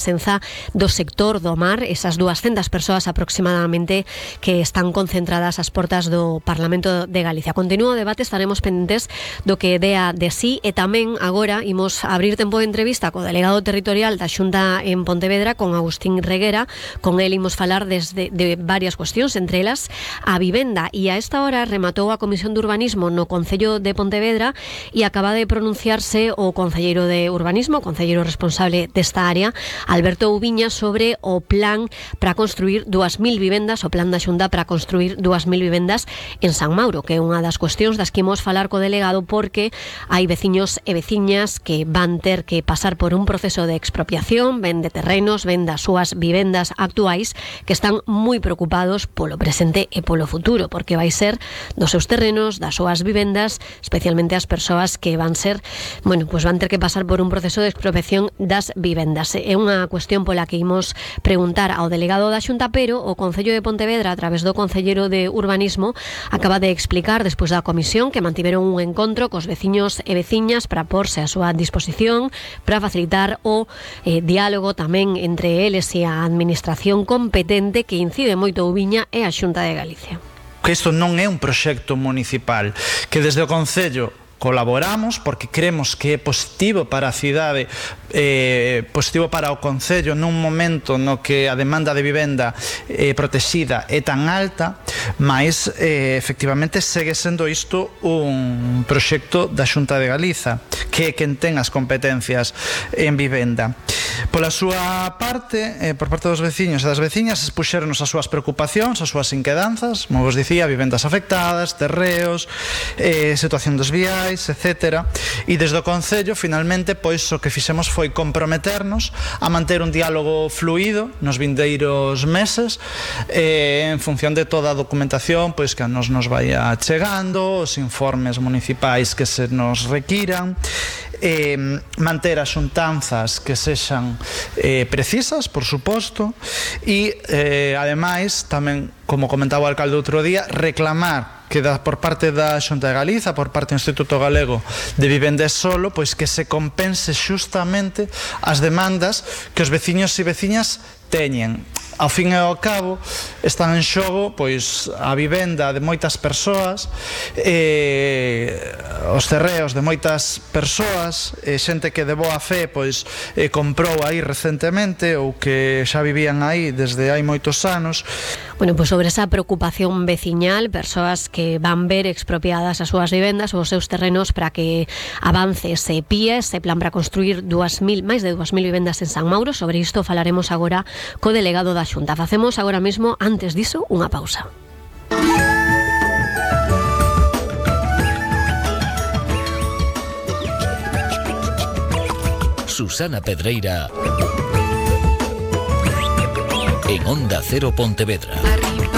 presenza do sector do mar, esas 200 persoas aproximadamente que están concentradas ás portas do Parlamento de Galicia. Continúa o debate, estaremos pendentes do que dea de sí, e tamén agora imos abrir tempo de entrevista co delegado territorial da Xunta en Pontevedra, con Agustín Reguera. Con el imos falar de varias cuestións, entre elas a vivenda, e a esta hora rematou a Comisión de Urbanismo no Concello de Pontevedra e acaba de pronunciarse o concelleiro de Urbanismo, o concelleiro responsable desta área, Alberto Ubiña, sobre o plan para construir 2.000 vivendas, o plan da Xunta para construir 2.000 vivendas en San Mauro, que é unha das cuestións das que imos falar co delegado, porque hai veciños e veciñas que van ter que pasar por un proceso de expropiación, ben de terrenos, ben das súas vivendas actuais, que están moi preocupados polo presente e polo futuro, porque vai ser dos seus terrenos, das súas vivendas, especialmente as persoas que van ser, pues van ter que pasar por un proceso de expropiación das vivendas. É unha cuestión pola que imos preguntar ao delegado da Xunta, pero o Concello de Pontevedra, a través do concelleiro de Urbanismo, acaba de explicar, despois da comisión, que mantiveron un encontro cos veciños e veciñas para porse a súa disposición, para facilitar o diálogo tamén entre eles e a administración competente, que incide moito Ubiña e a Xunta de Galicia. Que isto non é un proxecto municipal, que desde o Concello colaboramos porque creemos que é positivo para a cidade, positivo para o Concello nun momento no que a demanda de vivenda protexida é tan alta, mas efectivamente segue sendo isto un proxecto da Xunta de Galiza, que é quen ten as competencias en vivenda. Pola súa parte, por parte dos veciños e das veciñas, expuxéronos as súas preocupacións, as súas inquedanzas, como vos dicía, vivendas afectadas, terreos, situación dos viais, etc. E desde o Concello, finalmente, pois o que fixemos foi comprometernos a manter un diálogo fluido nos vindeiros meses, en función de toda a documentación pois que nos vaya chegando, os informes municipais que se nos requiran, manter as xuntanzas que sexan precisas, por suposto, e ademais tamén, como comentaba o alcalde outro día, reclamar que por parte da Xunta de Galiza, por parte do Instituto Galego de Vivenda e Solo, pois que se compense xustamente as demandas que os veciños e veciñas teñen. Ao fin e ao cabo, están en xogo pois a vivenda de moitas persoas, os terreos de moitas persoas, xente que de boa fe pois comprou aí recentemente ou que xa vivían aí desde hai moitos anos. Pois sobre esa preocupación veciñal, persoas que van ver expropiadas as súas vivendas ou os seus terrenos para que avance ese PIE, ese plan para construir máis de 2.000 vivendas en San Mauro. Sobre isto falaremos agora co delegado da Xunta. Facemos agora mesmo, antes diso, unha pausa. Susana Pedreira en Onda Cero Pontevedra.